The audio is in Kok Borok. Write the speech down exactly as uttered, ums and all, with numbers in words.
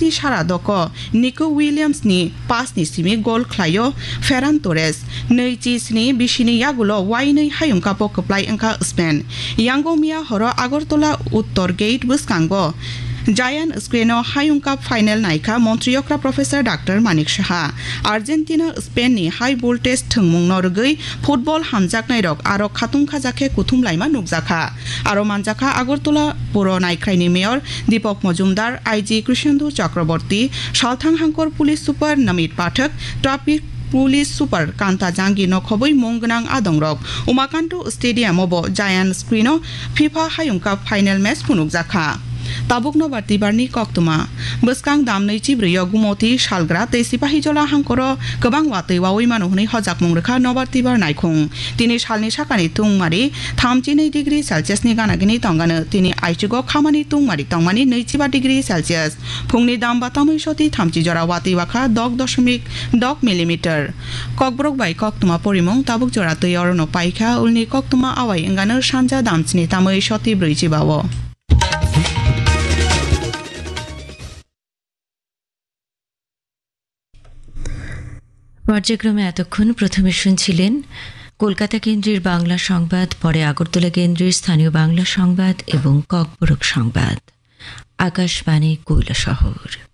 Penalty sara doko Nico Williams ni pass ni simi gol khlaio Ferran Torres. Nui chi sni bisini yagulo wainui hayung kapo kwplai wngkha Spain. Yango miya horo Agartala Uttor Gate bwskango Giant Screen o Hayung Cup final naikha Montri Okra Professor Doctor Manik Saha. Argentina Spain ni high voltage thwngmung no rwgwi football hamjaknai rok aro khatung khajakhe kuthum laima nukjakha. Aro manjakha Agartala puro naikhrai ni mayor Deepak Majumdar, I G Krishendu Chakraborty, Salthang Hangkor Police Super Namit Pathak, Traffic Police Super Kanta Jangi no khobwi mung gwnang adongrok Umakanto Stadium o bo Giant Screen o FIFA Hayung Cup final match phunukjakha. Tabuk nobar tibar ni koktwma. Bwskang dam nui chibrwi o Gumoti, Salgra tei Sipahijola hangkoro kwbang watwi wawi mano hwnwi hojakmung rwkha nobar tibar naikhung. Tini salni sakani tungmari thamchi nui degree Celsius ni gana gini tongano. Tini aichugo khamani tungmari tongmani nui chiba degree Celsius. Phungni dam ba tamui soti thamchi jora watwi wakha dok doshomik dok millimeter. Kokborok bai koktwma porimung tabuk jora twi orono paikha, ulni koktwma awai wngano sanja damchini tamui soti brwi chiba o. পর্যায়ক্রমে এতক্ষণ প্রথমে শুনছিলেন কলকাতা কেন্দ্রের বাংলা সংবাদ, পরে আগরতলা কেন্দ্রের স্থানীয় বাংলা সংবাদ এবং ককবরক সংবাদ। আকাশবাণী কৈলাসহর।